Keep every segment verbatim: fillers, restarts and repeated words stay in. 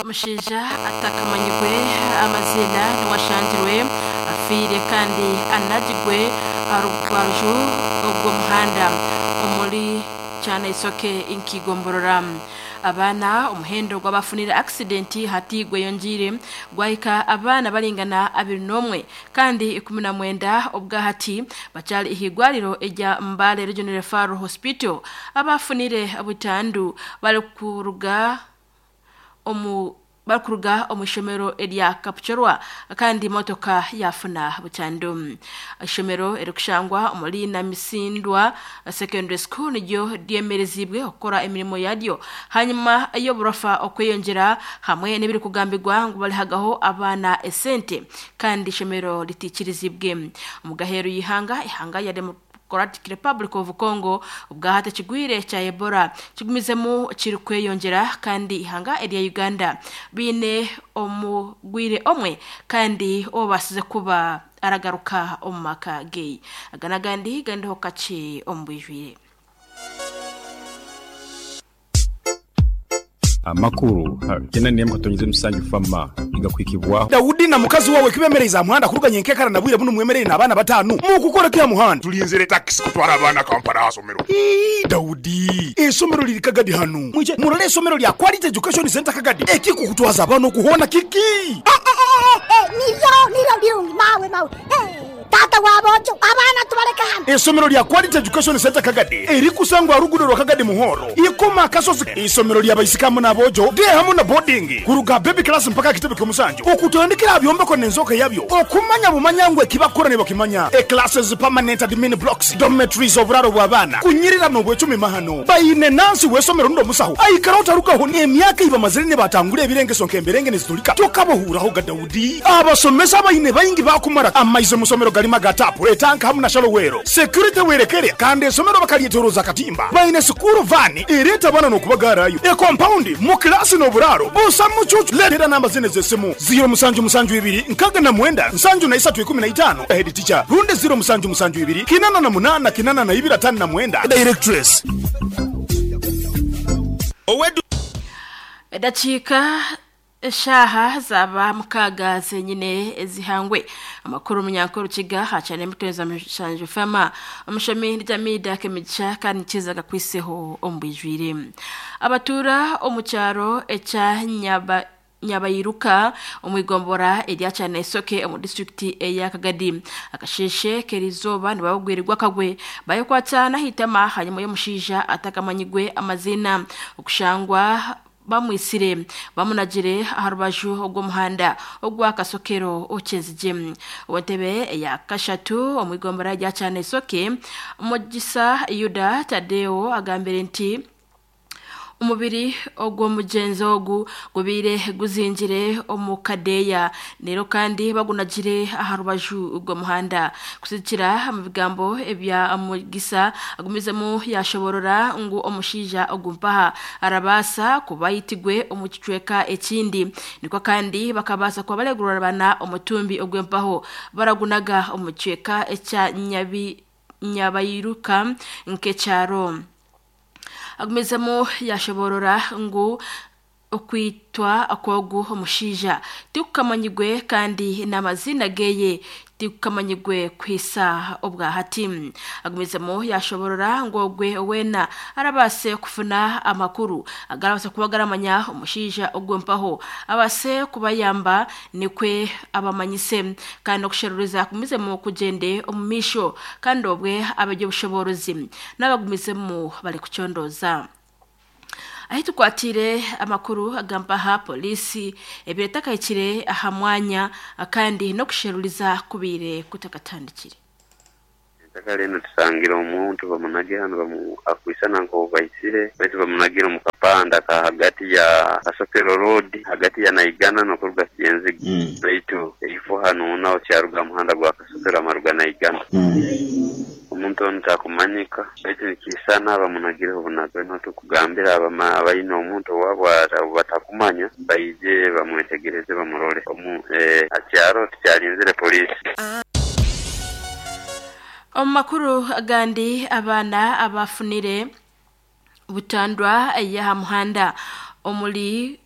Omushaija atakamanyirwe amazina niwashangirwe afiire kandi anagirwe aha rubaju rw'omuhanda omuri Kyanaisoke nkigomborora. Abaana omuhendo gw'abafunire accident hati gweyongiire gwahika abaana baringana abiri n'omwe kandi ikumi na mwenda obwahati bakyari ihigwariro erya Mbale Regional Referral Hospital. Abafunire butandu barikuruga omu barikuruga omu ishomero erya Kapchorwa kandi motoka yafuna butandu. Ishomero erikushangwa omuri Namisindwa Secondary School niryo ryemerezibwe okukora emirimo yaryo hanyuma y'oburofa okweyongyera hamwe n'ebirikugambirwa ngu barihagaho abaana esente kandi ishomero ritikirizibwe. Omu gaheeru y'ihanga, ihanga ya Democratic Republic of Congo obwahati ekigwire kya Ebola kigumizemu kirikweyongyera kandi ihanga erya Uganda biine omugwire omwe kandi obaasize kuba aragaruka omu maka ge. Aga n'agandi gandiho kakye omu bwijwire. Amakuru kena niyemu katonyize musanju fama igakwikibwaho. Daudi na mukazi wawe kibemereza muhanda kuruganya enkekara na bwire buno mwemerere n'abaana batanu mukukora kya muhanda. Tulinzire taxi kutwara abaana Kampala asomero. Ii, Daudi esomero liri Kagadi hano mwije murole esomero lya Quality Education Center Kagadi ekikukutwaza abaana okuhona kiki. Eh, eh, eh, eh, niryo niryo birungi mawe mawe. Eh, tata wabojo abaana tubaleka hano. Esomero lya Quality Education Center Kagadi erikusangwa rugudo rwa Kagadi Muhoro ikoma kasozi. Isomero lya baisikamu n'abojo de hamu na boarding kuruga baby class mpaka kitebe ky'omusanju okutandikira byombeko n'enzoka yabyo okumanya bumanya ngwe kibakora ne bakimanya. E classes, permanent admin blocks, dormitories, oburaro bw'abaana kunyirira n'obwecumi mahano bayine nansi w'esomero ndo musaho aikara otarukaho emyaka ibamazire ne batangura ebirengeso nk'emberenge nezitulika tokabohuraho ga Daudi. Abasomesa bayine bayingi bakumara amaize musomero galima gatapu etanka hamu na shalowero security werekere kandi esomero bakalyetoroza katimba bayine sukuru vani ereta bana n'okubagarayo e compound mu klasi n'oburaro busa mucucu. Letera namba zine z'esimu zero musanju musanju ibiri nkaga na mwenda nsanju na isatu ikumi na itano head teacher runde zero musanju musanju ibiri kinana na munana kinana na ibiri atano na mwenda directress. Owedu Edachika eshaha zaba mukaga zenyine zihangwe. Amakuru munyankuru kiga hacane muteza mushanju fama omushami ndjamida kemigisha kandi kizaga kwiseho ombwijwire. Abatura omucyaro echa nyaba Nyabayiruka omwigombora erya Kyanaisoke omu district eya Kagadi akasheshe kerizoba nibabagwirirwa kagwe bayokwata nahitama hanyuma y'omushaija atakamanyigwe amazina okushangwa bamwisire bamunagire aha rubaju rw'omuhanda ogwa Kasokero okyenzije. Owentebe eya kashatu omwigombora erya Kyanaisoke Mugisa Yuda Tadeo agambire nti omubiri ogw'omugyenzi ogu gubiire guzingire omu kadeeya rero kandi bagunagire aha rubaju rw'omuhanda. Kusikira mu bigambo ebya Mugisa agumizemu yashoborora ngu omushaija ogumpaha arabaasa kuba yitigwe omu kicweka ekindi nikwo kandi bakabaasa kuba baregurarabana omutumbi ogw'empaho baragunaga omu kicweka ekya Nyabi Nyabayiruka nk'ekyaro. Agumizemu yashoborora ngu okwitwa akwogu omushaija tikukamanyigwe kandi n'amazina geye tikukamanyigwe kwisa obwahati. Agumizemu yashoborora ngu ogwe wena arabaase kufuna amakuru agarabasa kuba garamanya omushaija ogwempaho abase kubayamba nikwe abamanyise kandi okusheruriza kumizemu kugyende omu maisho kandi obwe abajya obushoborozi n'abagumizemu bari kucondoza. Ahi tukwatire amakuru agamba ha polisi ebiretakayikire aha mwanya kandi n'okusheruriza kubire kutakatandikire. Ettaka lino tusangira omuntu bamunagira hano bamu akwisana nko baisire baitu bamunagira mu kapanda ka hagati ya Kasokero Road hagati ya Naigana n'okuruga Kiyenziga Mm. baitu eifo hano naho kyaruga muhanda gwa Kasokero amaruga Naigana Mm. omuntu ono takumanyika baitu nikisana bamunagireho obunago no tukugambira abama abayina omuntu owabwe batakumanya baije bamwetegereze bamurole omu eh, akyaro tukyalinzire polisi. Omu makuru agandi, abaana abafunire butandwa y'aha muhanda omuri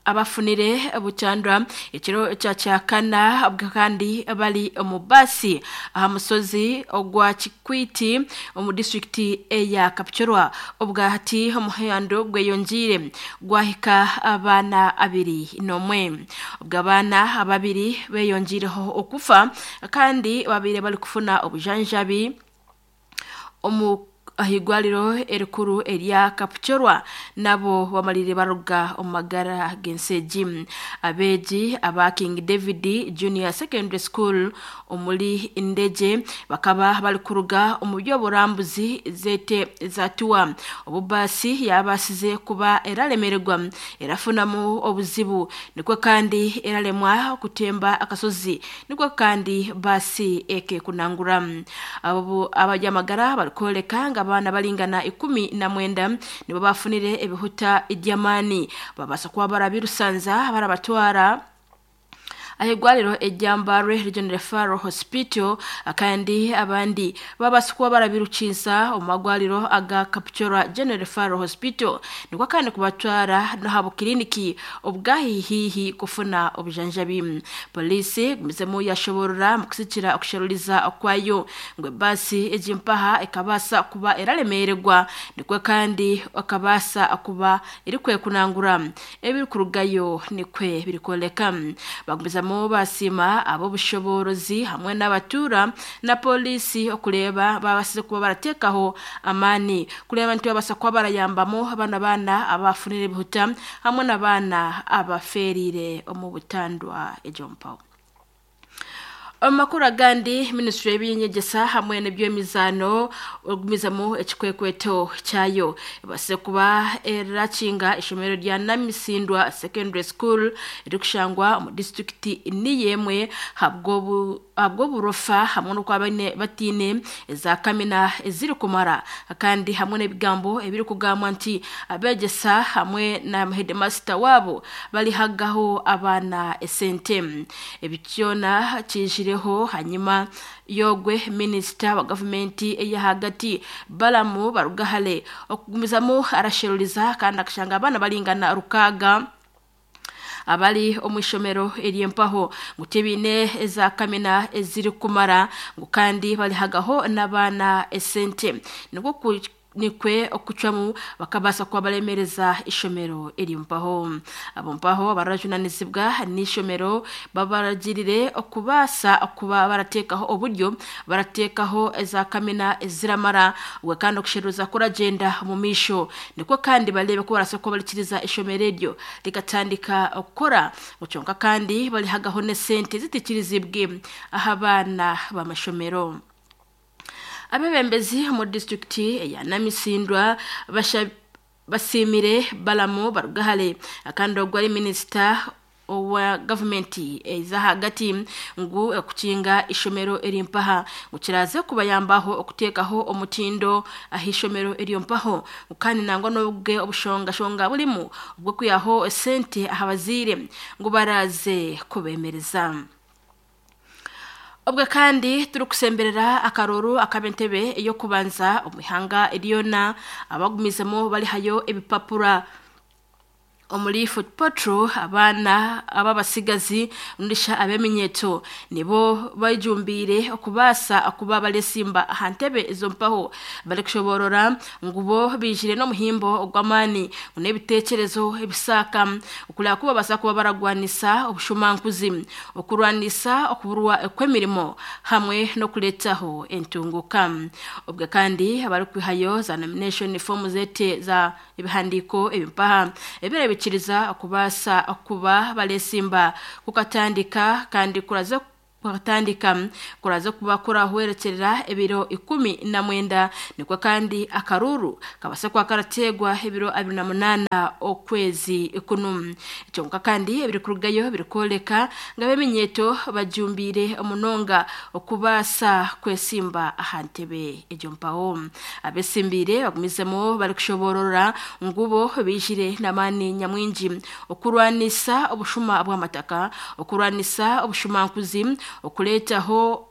abafunire buchandwa ekiro kya kyakana kandi bali omu basi aha musozi ogwa Kikwiti omu disitulikiti eya Kapchorwa. Obwahati omuhando gweyongiire gwahika abaana abiri n'omwe. Ubwo abaana ababiri beyongiireho okufa kandi babiri bali kufuna obujanjabi omu ahigwaliro erikuru erya Kapchorwa nabo bamalire baruga omagara genseji. Abeji aba King David Junior Secondary School omuli Ndeje bakaba bali kuruga omu by'oburambuzi zete zatuwa obubasi yabasize kuba eralemererwa erafunamu obuzibu nikwo kandi eralemwa kutemba akasozi nikwo kandi basi eke kunangura. Abo abajamagara balikoleka nga abaana balingana ikumi na mwenda nibo bafunire ebihuta idyamani babasa kuba barabirusanza barabatwara ahigwaliro ejyambarwe Regional Referral Hospital kandi abandi babasa kuba barabirukinsa omagwaliro aga Kapchorwa General Referral Hospital nikwo kandi kubatwara no habo kliniki obwahihihi kufuna obujanjabi. Polisi gumizemu yashoborora mu kusikira okusharuliza okwayo ngwe basi ejimpaha ekabasa kuba eralemererwa nikwo kandi akabasa kuba erikwe kunangura ebiri kurugayo nikwe birikoleka. Bagumizamu basima abo bushoborozi hamwe n'abatura na polisi okuleba babasize kuba baratekaho amani kuleba nti babasa kuba barayambamo abana bana abafunire bihuta hamwe n'abana abaferire omu butandwa ejompaho. Amakuru agandi, Ministry y'ebyenyegesa hamwe n'ebyemizano ogumizamo ekikwekweto kyayo base kuba erakinga ishomero rya Namisindwa Secondary School erikushangwa mu district niyemwe habwo habwo burofa hamwe no kwabane batine za kamina eziri kumara kandi hamwe n'ebigambo ebiri kugamwa nti abegesa hamwe na headmaster wabo bali hagaho abana esente. Ebikyona kijireho hanyuma yogwe minister wa government eya hagati Balamu Barugahale okugumizamo arasheruriza kandi akashanga abana balingana rukaga abali omwishomero eryempaho ngutebine eza kamina eziri kumara ngo kandi balihagaho n'abana esente niko nikwe okucwamu bakabasa kuba balemereza ishomero erimpaho. Abo mpaho barajunanizibwa n'ishomero babaragirire okubasa kuba baratekaho oburyo baratekaho eza kamina eziramara ubwo kandi okusheruza kuragenda mu misho niko kandi barebe ko barasa ko balikiriza ishomero eryo ligatandika okukora guconka kandi balihagaho ne sente zitikirizibwe ahabana b'amashomero. Abebembezi mu district ya Namisindwa basha basimire Balamu Barugahale akandi ogwari minister owa government eza hagati ngu okukinga ishomero erimpaha ngukiraze kubayambaho okutekaho omutindo ahishomero erimpaho kandi nangwa nobwe obushonga shonga bulimu ubwo kuyaho sente ahabazire ngu baraze kubemereza. Obwe kandi turukusemberera akaroro akabentebe eyo kubanza omwihanga eriyona abagumizemo bali hayo ebipapura omuli Foot Patrol abaana ababasigazi ndisha abeminyeto nibo bayijumbire okubasa akuba balesimba ahantebe ezo mpaho bali kushoborora ngubo bijire no muhimbo ogwamani n'ebitekerezo ebisaka okulya kuba basa kuba baragwanisa obushumankuzi okurwanisa okuburwa ekwemirimo hamwe no kuletaho entunguka. Obwe kandi abari kwihayo za nomination form zete za ebihandiko ebimpaha ebire bikiriza okubasa okuba balesimba kukatandika kandi kuraza kukatandika kuraza kuba kurahwerekerera ebiro ikumi na mwenda nikwo kandi akaruru kabasa kwa karategwa ebiro abiri na munana okwezi ikunu. Ekyonka kandi ebiri kurugayo birikoleka nga beminyeto bajumbire omunonga okubasa kwesimba ahantebe ejo mpaho. Abesimbire bagumizemo bari kushoborora ngubo bijire namani nyamwinji okurwanisa obushuma bw'amataka, okurwanisa obushumankuzi, okuletaho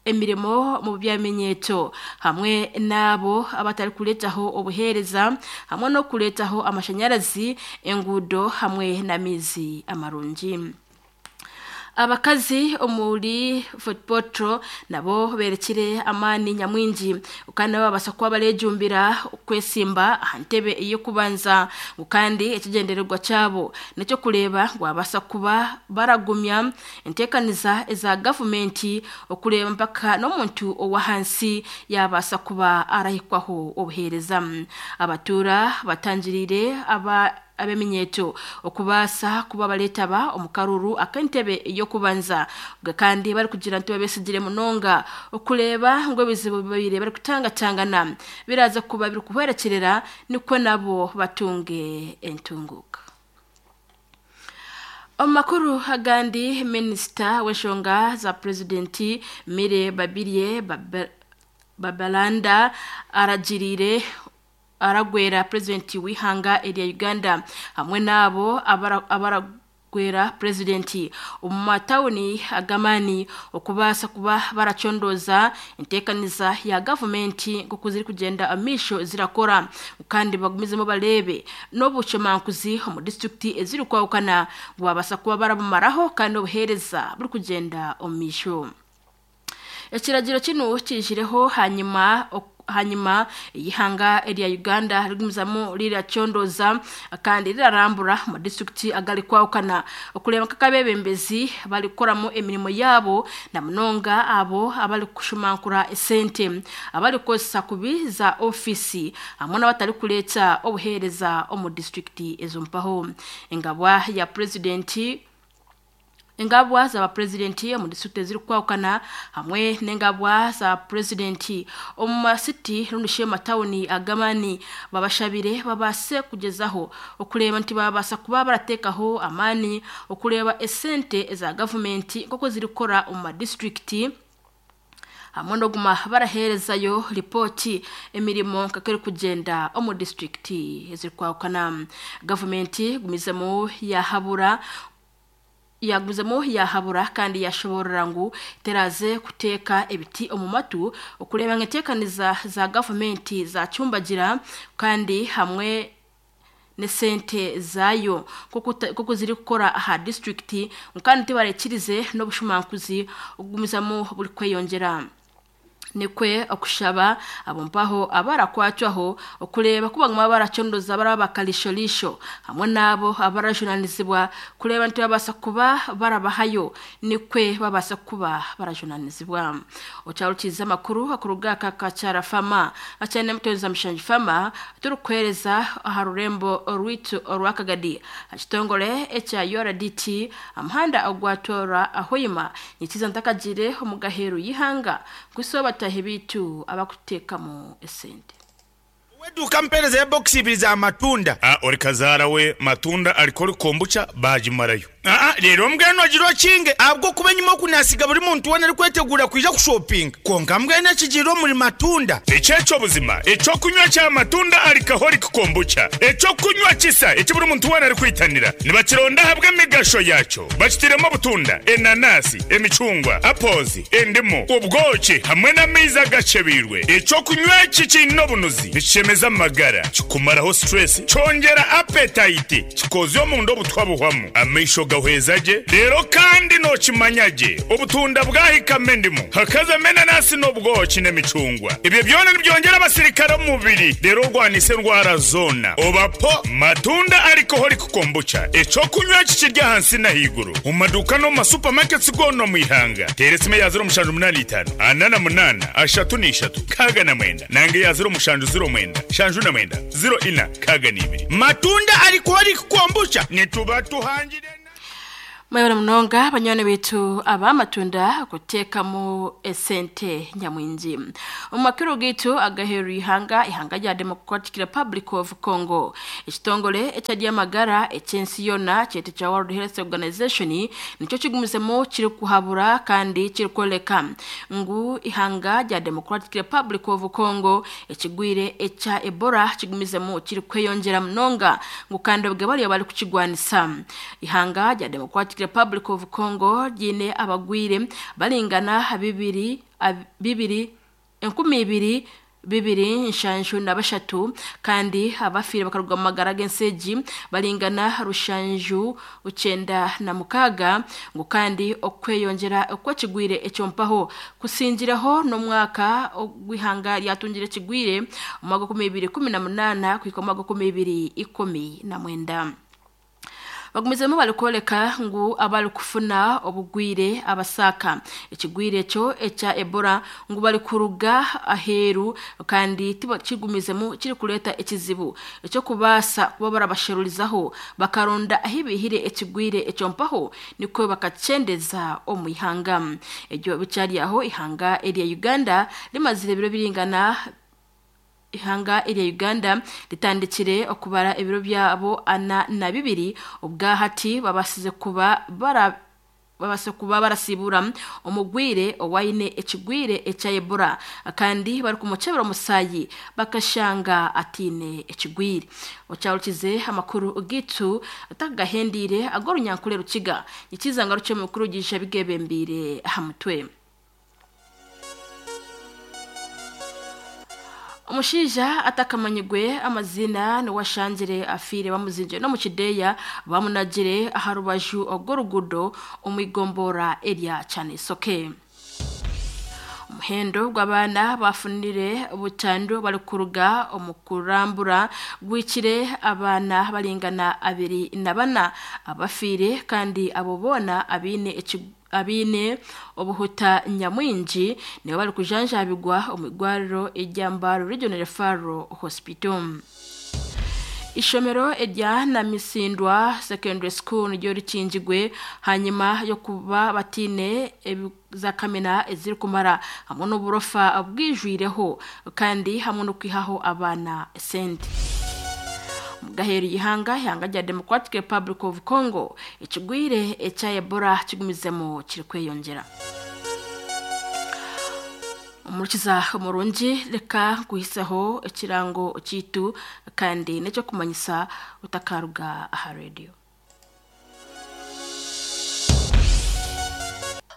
emirimo mu byamenyeto hamwe nabo abatari kuletaho obuhereza hamwe no kuletaho amashanyarazi engudo hamwe n'amizi amarungi. Abakazi omuri Fort Portal nabo berekire amani nyamwingi kandi babasa kuba barejumbira kwesimba ahantebe iyo kubanza kandi ekigendererwa cyabo nicyo kureba gwabasa kuba baragumya entekaniza eza government okureba mpaka no muntu owahansi yabasa kuba arahikwaho obuhereza. Abatura batangirire aba abeminyeto okubasa kuba baletaba omukaruru akentebe yo kubanza kandi bari kugira nti babesigire munonga okuleba ngo bizibu bibire bari kutanga tangana biraza kuba biri kuhwerekerera niko nabo batunge entunguka. Omakuru hagandi minister w'enshonga za presidenti Mire Babirye Babalanda aragirire aragwera presidenti w'ihanga erya Uganda hamwe nabo abaragwera presidenti omu matawuni agamani okubasa kuba baracondoza entekaniza ya government nk'oku ziri kugenda amisho zirakora kandi bagumizemo barebe n'obucomankuzi omu district eziri kwawukana gwabasa kuba barabumaraho kandi obuhereza buri kugenda omisho. Ekiragiro kino kijireho hanyuma hanyuma ihanga erya Uganda rigumizamu liracondoza kandi rirarambura mu district agali kwawukana okuleba kakabebembezi bali kukoramo emirimo yabo na munonga abo abali kushumankura esente abali kosa kubiza ofisi hamwe n'abatari kuletsa obuhereza omu district ezompaho. Engabwa ya president Engabwa za presidenti mu district ziri kwawukana hamwe n'engabwa za presidenti omu city rundishe matawuni agamani babashabire babase kugezaho okureba nti babasa kuba baratekaho amani okureba esente za government koko ziri kora omu district hamwe no guma baraherezayo ripoti emirimo kakeri kugenda omu district ziri kwawukana. Government gumizemo yahabura yaguzemo yahabura kandi yashoborera ngu teraze kuteka ebiti omumatu okureba ngetekaniza za government za cyumbagira kandi hamwe nesente zayo kuko ziri gukora aha district kandi tibarekirize no bushumankuzi ogumizamo buri kweyongera. Nikwe okushaba abompaho abarakwatwaho okureba kuba ngoma baracondoza barabakalisholisho hamwe nabo abarajunanizibwa kureba nti babasa kuba barabahayo nikwe babasa kuba barajunanizibwa. Ocharukiza makuru akuruga kakacara fama achane mtonza mshanji fama turukwereza aharurembo rwitu orwakagadi akitongole echa U R D T amhanda agwatora ahoyima nyikiza ntakagire omugaheru yihanga kusoba tahebitu abakutekamo esente. Weduka mpereza ya box ibiri za matunda. Ah, ori kazara we matunda alikori kombucha bajimarayo. Ah, rero mbweno agiro kinge abwo kubenyuma kunasiga buri muntu wona ari kwetegura kwija ku shopping. Konka mbwene kijiro muri matunda. Echecho buzima, echo kunywa cha matunda alikahori kombucha. Echo kunywa kisa, echo buri muntu wona ari kwitanira. Nibakironda habwe migasho yacho. Bakitiremo butunda, enanasi, emicungwa, apples, endimu, ubwoki hamwe n'amiza gacebirwe. Echo kunywa kikino bunuzi. Bishemeza magara, kikumaraho stress, cyongera appetite, kikozyo mu ndo butwabuhwamo. Amisho gahwezaje rero kandi no kimanyaje ubutunda bwahikame ndimo hakaza menanasi n'ubwoki n'emicungwa ibyo byona nibyongera abasirikare mu mubiri rero rwanise ndwara zona obapo matunda alcoholic kombucha eco kunywa kikirya hansi na higuru mu maduka no mu supermarkets gono mu ihanga teresime ya zero mushanju munani itanu anana munana ashatu n'ishatu kaga na mwenda nange ya zero mushanju zero mwenda shanju na mwenda zero ina kaga n'ibiri matunda alcoholic kombucha nituba tuhangire. Mayora munonga banyone bitu abamatunda kutekamo esente nyamwinji. Omakuru gitu agaheru ihanga ihanga ya Democratic Republic of Congo. Ekitongole echadia magara echensi yona chete cha World Health Organization nicho kigumizemo kiri kuhabura kandi kiri koleka ngu ihanga ya Democratic Republic of Congo ekigwire echa Ebola kigumizemo kiri kweyongera munonga ngu kandi obwe bali bali kukigwanisa. Ihanga ya Democratic Democratic Republic of Congo ryine abagwire balingana bibiri bibiri enkumi ibiri bibiri nshanju na bashatu kandi abafire bakaruga mu magara g'enseji balingana rushanju ucenda na mukaga ngo kandi okweyongera okwekigwire ekyompaho kusingireho n'omwaka ogwihanga ryatungire kigwire mu mwaka bibiri kumi na munana kwika mu mwaka bibiri ikumi na mwenda. Bagumizemu balikoleka ngu abali kufuna obugwire abasaka ekigwire ekyo ekya Ebola ngu bali kuruga aheru kandi kigumizemu kiri kuleta ekizibu ekyo kubasa kuba barabasherurizaho bakaronda ahibihire ekigwire ekyo mpaho niko bakacendeza omu ihanga ebyo bicyari aho ihanga erya Uganda limazire biro biringana ihanga erya Uganda litandikire okubara ebiro byabo ana na bibiri ubwahati babasize kuba bara babase kuba barasibura omugwire owaine ekigwire ekya Ebola kandi bari kumukebera omusayi bakashanga atine ekigwire. Ocharukize amakuru gitu atagahendire agorunyankule rukiga ikizanga ruce mukuru gisha bigebembire hamutwe. Omushaija atakamanyigwe amazina niwashanjire afire bamuzinje no mukideya bamunagire aha rubaju ogw'orugudo omwigombora erya Kyanisoke. Omuhendo gw'abaana bafunire butandu bali kuruga omukurambura gwikire abaana balingana abiri na bana abafire kandi abo bona abine abine obuhuta nyamwingi nibo bali kujanjabigwa omwigwariro ejyambaro Regional Referral Hospital. Ishomero erya Namisindwa Secondary School niryo rikingigwe hanyuma yo kuba batine za kamena eziri kumara hamwe n'uburofa bwijwireho kandi hamwe no kwihaho abana sente. Gaheri ihanga ihanga rya Democratic Republic of Congo ekigwire ekya Ebola kigumizemo kiri kweyongera. Umurukiza umurungi reka kuhisaho ekirango kitu kandi necyo kumanyisa utakaruga aha radio.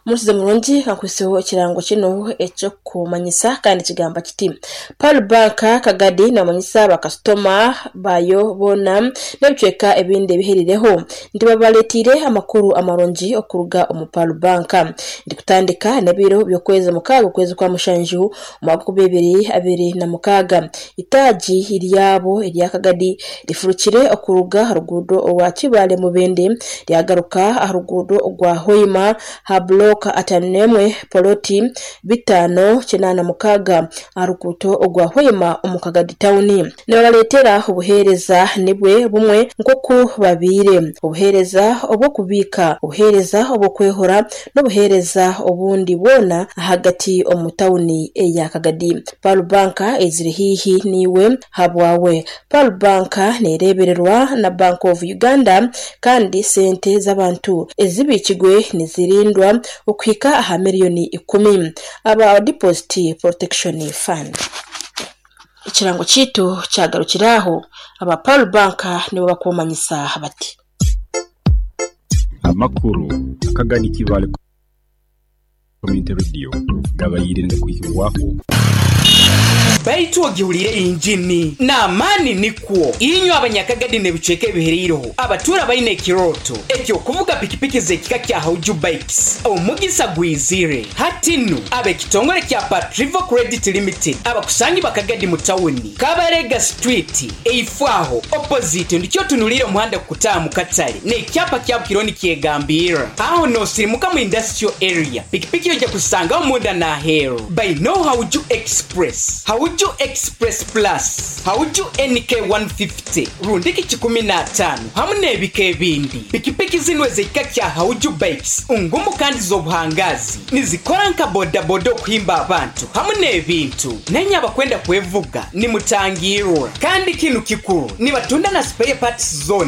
Umurukiza murungi akwiseho ekirango kino ekyo kumanyisa kandi kigamba kiti Pearl Bank Kagadi namanyisa bakastoma bayo bona nebicweka ebindi biherireho ndibabaletire amakuru amarungi okuruga omu Pearl Bank ndikutandika nebiro byokweza mukaga kwezi kwa mushanju mwaka bibiri abiri na mukaga itaji iryabo irya Kagadi rifurukire okuruga rugudo orwa Kibale mubende ryagaruka arugudo rwa Hoima ha block atanemwe poloti bitano kinana mukaga arukuto ogwa Hoima omukagadi town nebaletera obuhereza nibwe bumwe nkoku babire obuhereza obwo kubika obuhereza obwo kwehora n'obuhereza obundi bona hagati omu town eya Kagadi. Pearl Bank eziri hihi niwe habwawe. Pearl Bank nerebererwa na Bank of Uganda kandi sente z'abantu ezibikigwe nizirindwa okuhika aha miliyoni ikumi aba Deposit Protection Fund. Ikirango kitu cyagarukiraho aba Pearl Bank nibo bakomanyisa bati amakuru akagani kibale Community Radio gabayirinde kuhiwaho baitu ogihulire injini n'amaani nikwo inywe abanyakagadi nebicweka ebihereireho abatura baine ekiroto ekyo kuvuga pikipiki z'ekika kya Hauju Bikes omugisa gwizire hatinu ab'ekitongole kya Patrivo Credit Limited abakusangi bakagadi mu tawuni Kabarega Street eifwaho opposite ndikyo tunulire omuhanda kukutaamu katale n'ekyapa kya Bukironi kyegambira aho nosirimuka mu industrial area pikipiki yojja kusanga omunda n'aheeru by no Hauju Express Hauju Express Plus Hauju N K one fifty rundiki kikumi na tano hamwe n'ebika ebindi pikipiki zino ez'ekika kya Hauju Bikes ungumu kandi z'obuhangazi nizikora nka bodaboda okuhimba abantu hamwe n'ebintu nenye abakwenda kwevuga nimutangirwa kandi kinu kikuru nibatunda na spare parts zone.